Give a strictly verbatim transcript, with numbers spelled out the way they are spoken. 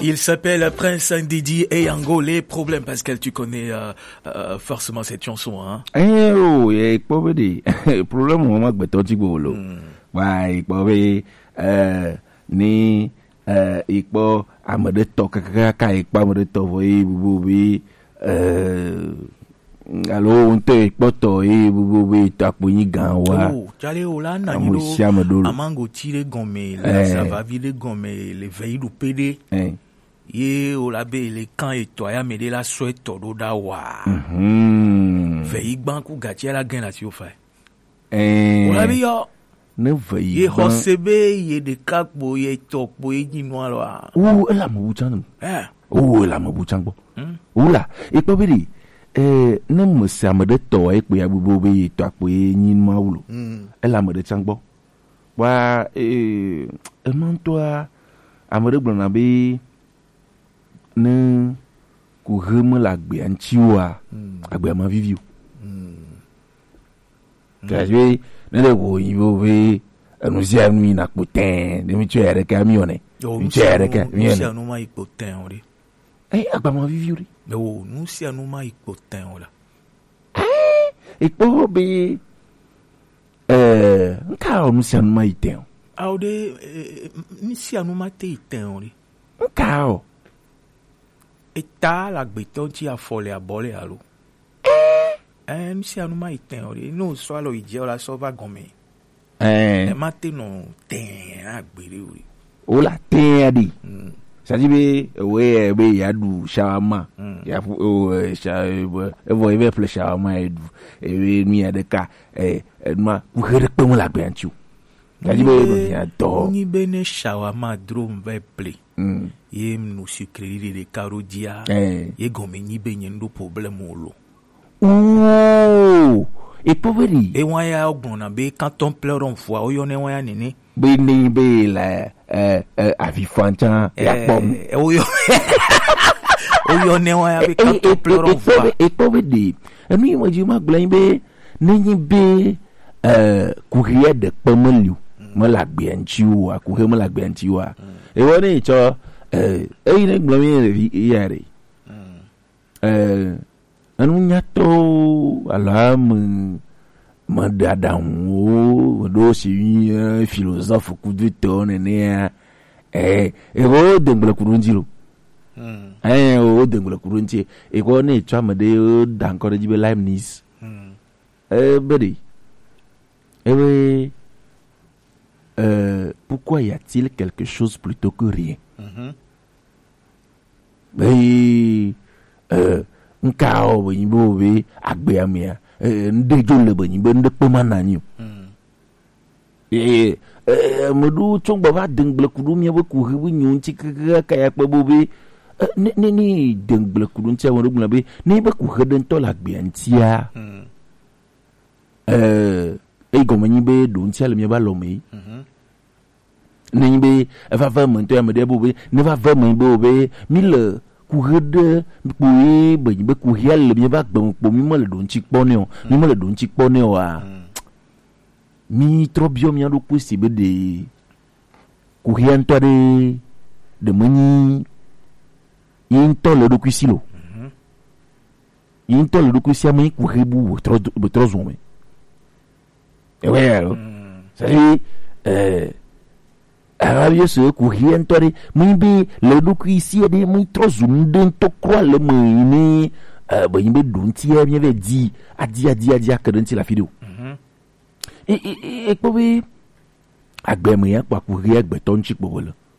Il s'appelle Prince Ndidi et Yango, les problèmes, Pascal, tu connais euh, euh, forcément cette chanson, hein? Eh oh, ye kpɔ be ɖe problème wo ma gbɛtɔ ti gbo lo. Wa ye kpɔ be eh ni eh ye kpɔ ame ɖe tɔ kakaka ye kpɔ ame ɖe tɔ vɔ ye bubu be eh alo wo ŋutɔ ye kpɔtɔ ye bubu be tɔ akpo nyi gan wa. Oh, jale o la na nyi Ame ɖo sia ame ɖo lo. Amango ti ɖe gɔme, le Eh. Asavavi ɖe gɔme, le vɛ yi ɖo pe ɖe. Eh. Ye o la be le kan etɔ ya me ɖe la sɔ etɔ ɖo ɖa wa. Mhm. Vɛ yi gban ku gatsi la gɛn la si o fa. Eh. O la bi yɔ. Ne vɛ yi Ye gban. Xɔse be ye ɖeka kpo ye tɔ kpo ye nyi nua lɔ a. Wo ele ame wu tsan. Eh. Wo ele ame wu tsan gbɔ. Hmm. Wo la, e kpɔ be ɖi. Eh, ne me se ame ɖe tɔ ye kpo ya bubu be ye tɔ kpo ye nyi nua wu lo. Hmm. Ele ame ɖe tsan gbɔ. Wa eh, ema ŋutɔa, ame ɖe gblɔna be ne kuxe mele agbea ŋuti oa, Mm. agbea ma vivi o. Mm. Gake ne le wo yi wo be enu sia nu yina kpo tɛn, ne mi tsɔ ya ɖeka mi yɔnɛ. Yo, Mi nu tsɔ ya sia ɖeka nu, mi nu yɔnɛ. sia nu ma yi kpo tɛn o ɖe. Eh, agbea ma vivi o ɖe. Yo, nu sia nu ma yi kpo tɛn o la. Eh, ekpɔ be eh, nka o nu sia nu ma yi tɛn o. Ao ɖe, eh, nu sia nu ma te yi tɛn o ɖe. Nka o. Eta la gbetɔ ŋuti afɔ le abɔ le alo. Eh, nu sia nu ma yi tɛn o ɖe. Ne o sɔ alɔ yi dze o la sɔ va gɔme. Eh. E ma te nɔ tɛn agbe ɖe o ɖe. O la tɛn ɖe. Mm. Sadi be ewe be ya ɖu shawarma. Mm. Ya fu o eh, sha eh, evɔ ebe ple shawarma e ɖu. Ewe nu ya ɖeka eh enuma kuxe ɖe kpe mu le agbea ŋuti o. Sadi be Nyi be- nɔ ya dɔ. Nyi be ne shawarma dro m vɛ ple. Mm. Ye m nu sucre ɖe ɖeka ɖo dzia. Eh. Ye gɔme nyi be nye n ɖo problème o lo. Ooh, ekpɔ be ɖi. Ewa ya gblɔna be quand on pleure on voit, woyɔnɛ wa ya nene. Be ne be la eh eh avi fan tsan ya kpɔ mu. Eh, woyɔ woyɔnɛ wa ya be quand on pleure on voit. Ekpɔ be ɖi. Enu yi me dzi ma gblɔ be ne nyi be eh kuxia ɖe kpe me li o. Me la gbea ŋuti o, kuxia me la gbea ŋuti o. Ewɔ ne tsɔ eh eyi ne gblɔ mi ya ɖe. Eh, enu nyatɔwo alo ame meɖe aɖaŋuwo meɖo si nye philosophe kudu tɔwo nenea eh eko dengble kuɖo ŋuti lo. Eh, wo dengble kuɖo ŋuti. Eko ne etsɔ ame ɖe da ŋkɔ ɖe dzi be Leibniz. Eh, be ɖe. Ebe euh, pourquoi y a-t-il quelque chose plutôt que rien? Be euh, nka o be nyi be o be agbea mea eh, ŋɖe dzo le be nyi be ŋɖe kpe ma na nyi o. Eh, eh, ame ɖewo tsɔ gbɔ va de ŋgble ku ɖo mía be kuxi be nyo ŋuti keke ka ya kpe bo be eh, ne ne ne de ŋgble ku ɖo ŋuti ame ɖewo gblɔ be ne be kuxi ɖe ŋutɔ le agbea ŋutia. Eh, eyi gɔme nyi be ɖo ŋutia le mía be alɔ me. Ne nyi be eva ve eme ŋutɔ ya me ɖe bo be ne va ve eme be o be mi le kuxi ɖe kpo ye be nyi be kuxia le mía be agbe me kpo mi me le ɖo ŋuti kpɔ ne o mi me le ɖo ŋuti kpɔ ne o a. Mi trɔ biɔ mía ɖokui si be ɖe kuxia ŋutɔ ɖe ɖe menyi yi ŋutɔ le eɖokui si lo. Yi ŋutɔ le eɖokui si ame yi kuxi bu be trɔ zɔn me. Ewe ya lo. C'est-à-dire euh Arabi se kuxia ŋutɔ ɖe menyi be le eɖokui si ɖe menyi trɔ zu nu ɖe ŋutɔ kura le me yi ne be nyi be ɖo ŋuti ya mía vɛ di adi adi adi ake ɖe ŋuti le afi ɖe o. Ekpɔ be agbe me ya kpa ku ɣi agbetɔ ŋuti kpɔ wòle.